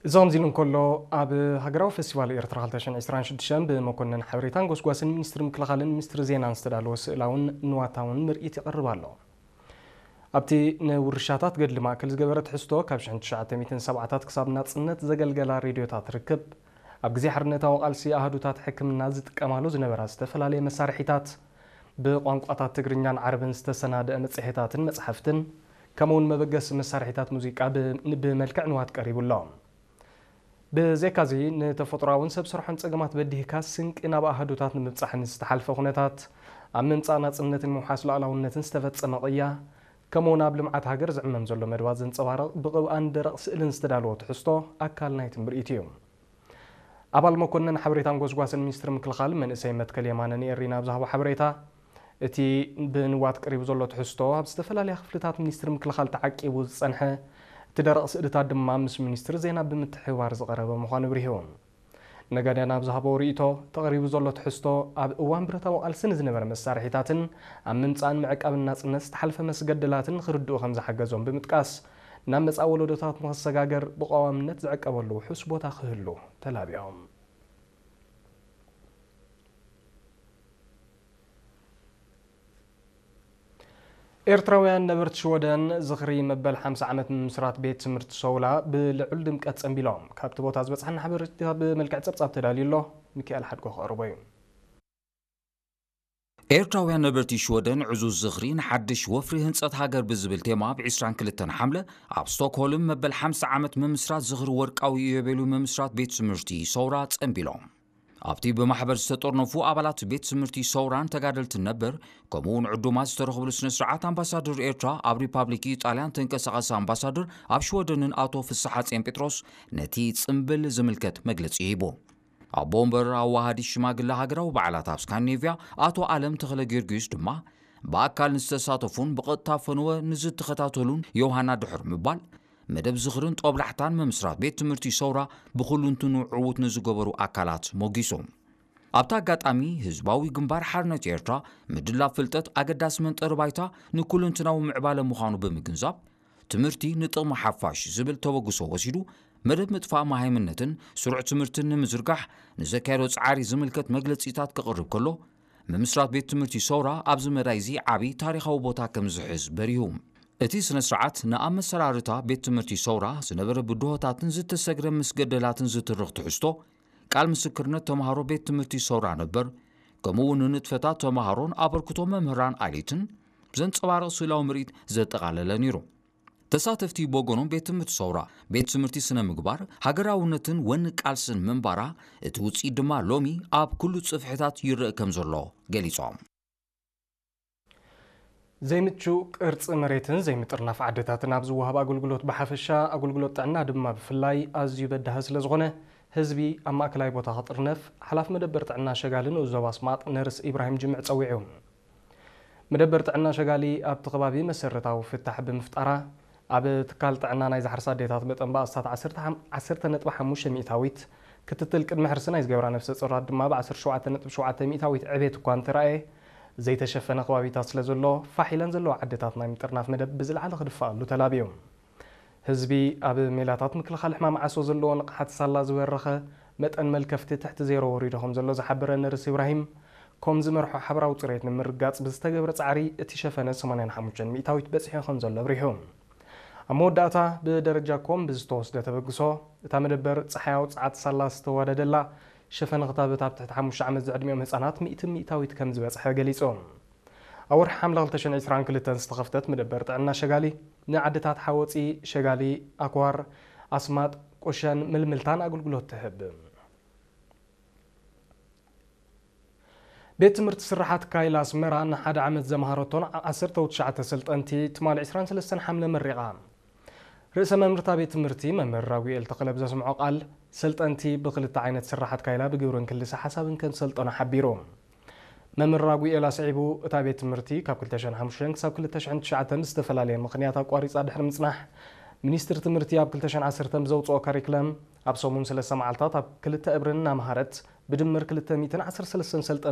እዚ ከምዚ ኢሉ እንከሎ፣ ኣብ ሃገራዊ ፈስቲቫል ኤርትራ ክልተ ሽሕን ዕስራን ሽዱሽተን ብመኮነን ሓበሬታን ጎስጓስን ሚኒስትሪ ምክልኻልን ሚኒስትሪ ዜናን ዝተዳለወ ስእላውን ንዋታውን ምርኢት ይቐርብ ኣሎ። ኣብቲ ንውርሻታት ገድሊ ማእከል ዝገበረ ትሕዝቶ፣ ካብ ሽሕን ትሽዓተ ሚእትን ሰብዓታት ክሳብ ናጽነት ዘገልገላ ሬድዮታት ርክብ፣ ኣብ ግዜ ሓርነታዊ ቃልሲ ኣሃዱታት ሕክምና ዝጥቀማሉ ዝነበራ ዝተፈላለየ መሳርሒታት፣ ብቋንቋታት ትግርኛን ዓረብን ዝተሰናደአ መጽሔታትን መጽሓፍትን፣ ከምኡውን መበገሲ መሳርሒታት ሙዚቃ ብ-፣ ብመልክዕ ንዋት ቀሪቡ ኣሎ። ብዘይካዚ፣ ንተፈጥሮኣውን ሰብ ሰርሖን ጸገማት በዲህካ ስንቂ ናብ ኣሃዱታት ንምብጻሕን ዝተሓልፈ ኩነታት፣ ኣብ ምምጻእ ናጽነትን ምውሓስ ሉዓላውነትን ዝተፈጸመ ቅያ፣ ከምኡውን ኣብ ልምዓት ሃገር ዝዕመም ዘሎ መደባት ዘንጸባርቕ ብቕብኣን ደረቕ ስእልን ዝተዳለወ ትሕዝቶ ኣካል ናይቲ ምርኢት እዩ። ኣባል መኮነን ሓበሬታን ጎስጓስን ሚኒስትሪ ምክልኻል መንእሰይ መትከል የማነ ንኤሪና ኣብ ዝሃቦ ሓበሬታ፣ እቲ ብንዋት ቀሪቡ ዘሎ ትሕዝቶ ኣብ ዝተፈላለያ ክፍልታት ሚኒስትሪ ምክልኻል ተዓቂቡ ዝጸንሐ፣ እቲ ደረቕ ስእልታት ድማ ምስ ሚኒስትሪ ዜና ብምትሕብባር ዝቐረበ ምዃኑ ኣብሪሁ። ነጋድያን ኣብ ዝሃቦ ርእይቶ፣ ተቐሪቡ ዘሎ ትሕዝቶ ኣብ እዋን ብረታዊ ቃልሲ ንዝነበረ መሳርሒታትን ኣብ ምምጻእን ምዕቃብን ናጽነት ዝተሓልፈ መስገደላትን ክርድኡ ከም ዝሓገዞም ብምጥቃስ፣ ናብ መጻኢ ወለዶታት ንኽሰጋገር ብቐዋምነት ዝዕቀበሉ ውሑስ ቦታ ክህሉ ተላቢዮም። ኤርትራውያን ነበርቲ ሽወደን ዝኽሪ መበል ሓምሳ ዓመት ምምስራት ቤት ትምህርቲ ሰውራ ብልዑል ድምቀት ጸንቢሎም። ካብቲ ቦታ ዝበጽሐና ሓበሬታ ብመልክዕ ጸብጻብ ተዳልዩ ኣሎ። ሚካኤል ሓድጎ ክቐርቦ እዩ። ኤርትራውያን ነበርቲ ሽወደን ዕዙዝ ዝኽሪ ንሓድሽ ወፍሪ ህንጸት ሃገር ብዝብል ቴማ፣ ኣብ ዕስራን ክልተን ሓምለ ኣብ ስቶክሆልም መበል ሓምሳ ዓመት ምምስራት ዝኽሪ ወርቃዊ ኢዮቤልዩ ምምስራት ቤት ትምህርቲ ሰውራ ጸንቢሎም። ኣብቲ ብማሕበር ዝተጠርነፉ ኣባላት ቤት ትምህርቲ ሰውራን ተጋደልትን ነበር፣ ከምኡውን ዕዱማት ዝተረኽብሉ ስነ ስርዓት፣ ኣምባሳደር ኤርትራ ኣብ ሪፓብሊክ ኢጣልያን ተንቀሳቓሲ ኣምባሳደር ኣብ ሽወደንን ኣቶ ፍስሓጽዮን ጴጥሮስ ነቲ ጽምብል ዝምልከት መግለጺ ሂቡ። ኣቦ ወንበር ኣዋሃዲ ሽማግለ ሃገራዊ በዓላት ኣብ ስካንዲኔቭያ ኣቶ ኣለም ተኽለ ጊዮርጊስ ድማ፣ ብኣካል ንዝተሳተፉን ብቐጥታ ፈነወ ንዝተኸታተሉን ዮሃና ድሕሪ ምባል፣ መደብ ዝኽርን ጦብላሕታን ምምስራት ቤት ትምህርቲ ሰውራ ብኹሉንትኑ ዕዉት ንዝገበሩ ኣካላት ሞጊሱ። ኣብቲ ኣጋጣሚ፣ ህዝባዊ ግንባር ሓርነት ኤርትራ ምድላብ ፍልጠት ኣገዳሲ መንጠሪ ባይታ ንኩለንትናዊ ምዕባለ ምዃኑ ብምግንዛብ፣ ትምህርቲ ንጥቕሚ ሓፋሽ ዝብል ተበግሶ ወሲዱ፣ መደብ ምጥፋእ መሃይምነትን ስሩዕ ትምህርትን ንምዝርጋሕ ንዘካየዶ ጻዕሪ ዝምልከት መግለጺታት ከቕርብ ከሎ፣ ምምስራት ቤት ትምህርቲ ሰውራ ኣብዚ መዳይ እዚ ዓቢ ታሪኻዊ ቦታ ከም ዝሕዝ በሪሁ። እቲ ስነ ስርዓት ንኣብ መሰራርታ ቤት ትምህርቲ ሰውራ ዝነበረ ብድሆታትን ዝተሰግረ ምስገደላትን ዝትርኽ ትሕዝቶ፣ ቃል ምስክርነት ተምሃሮ ቤት ትምህርቲ ሰውራ ነበር፣ ከምኡ እውን ንንጥፈታት ተምሃሮን ኣበርክቶ መምህራን ዓሌትን ዘንጸባርቕ ስእላዊ ምርኢት ዘጠቓለለ ነይሩ። ተሳተፍቲ ብወገኖም፣ ቤት ትምህርቲ ሰውራ ቤት ትምህርቲ ስነ ምግባር፣ ሃገራውነትን ወኒ ቃልስን ምንባራ፣ እቲ ውጽኢት ድማ ሎሚ ኣብ ኩሉ ጽፍሕታት ይረአ ከም ዘሎ ገሊጾም። ዘይምቹ ቅርጺ መሬትን ዘይምጥርናፍ ዓድታትን ኣብ ዝወሃብ ኣገልግሎት ብሓፈሻ፣ ኣገልግሎት ጥዕና ድማ ብፍላይ ኣዝዩ በዳሂ ስለ ዝኾነ፣ ህዝቢ ኣብ ማእከላይ ቦታ ክጥርነፍ ሓላፊ መደበር ጥዕና ሸጋሊ ንኡስ ዞባ ኣስማጥ ነርስ ኢብራሂም ጅምዕ ጸዊዑ። መደበር ጥዕና ሸጋሊ ኣብቲ ከባቢ መሰረታዊ ፍታሕ ብምፍጣራ፣ ኣብ ትካል ጥዕና ናይ ዝሓርሳ ኣዴታት መጠን ባእስታት ዓሰርተ፣ ዓሰርተ ነጥቢ ሓሙሽተ ሚእታዊት፣ ክትትል ቅድመ ሕርሲ ናይ ዝገብራ ነፍሰ ጾራት ድማ ብ ዓሰርተ ሸውዓተ ነጥቢ ሸውዓተ ሚእታዊት ዕቤት እኳ እንተረኣየ፣ ዘይተሸፈነ ከባቢታት ስለ ዘሎ፣ ፋሕ ኢለን ዘለዋ ዓድታት ናይ ምጥርናፍ መደብ ብዝለዓለ ክድፈኣሉ ተላብዩ። ህዝቢ ኣብ ሜላታት ምክልኻል ሕማም ዓሶ ዘለዎ ንቕሓት ሳላ ዝበረኸ፣ መጠን መልከፍቲ ትሕቲ ዜሮ ወሪዱ ከም ዘሎ ዝሓበረ ነርስ ኢብራሂም፣ ኮም ዝመርሖ ሓበራዊ ጽሬት ንምርጋጽ ብዝተገብረ ጻዕሪ እቲ ሸፈነ ሰማንያን ሓሙሽተን ሚእታዊት በጺሑ ከም ዘሎ ኣብሪሁ። ኣብ መወዳእታ ብደረጃ ኮም ብዝተወስደ ተበግሶ፣ እታ መደበር ጸሓያዊ ጸዓት ሳላ ዝተዋደደላ ሸፈነ ክታበት ኣብ ትሕቲ ሓሙሽተ ዓመት ዝዕድሚኦም ህጻናት ሚእቲ ሚእታዊት ከም ዝበጽሐ ገሊጹ። ኣብ ወርሒ ሓምለ ክልተ ሽሕን ዕስራን ክልተን ዝተኸፍተት መደበር ጥዕና ሸጋሊ፣ ንዓድታት ሓወፂ፣ ሸጋሊ፣ ኣክዋር፣ ኣስማጥ፣ ቁሸን ምልምልታን ኣገልግሎት ትህብ። ቤት ትምህርቲ ስርሓት ካይላ ኣስመራ ንሓደ ዓመት ዘምሃረቶን ዓሰርተ ትሽዓተ ሰልጠንቲ ትማሊ ዕስራን ሰለስተን ሓምለ መሪቓ። ርእሰ መምህርታ ቤት ትምህርቲ መምህር ራጉኤል ተኽለ ብዘስምዖ ቃል፣ ሰልጠንቲ ብክልተ ዓይነት ስርሓት ካይላ ብግብርን ክልሰ ሓሳብን ከም ሰልጠኑ ሓቢሩ። መምህር ራጉኤል ኣስዒቡ፣ እታ ቤት ትምህርቲ ካብ ክልተ ሽሕን ሓሙሽተን ክሳብ ክልተ ሽሕን ትሽዓተን ብዝተፈላለየ ምኽንያት ኣቋሪጻ ድሕሪ ምጽናሕ፣ ሚኒስትሪ ትምህርቲ ኣብ ክልተ ሽሕን ዓሰርተን ብዘውጽኦ ካሪክለም ኣብ ሰሙን ሰለስተ መዓልታት ኣብ ክልተ እብርን እናምሃረት ብድምር ክልተ ሚእትን ዓሰርተ ሰለስተን ሰልጠንቲ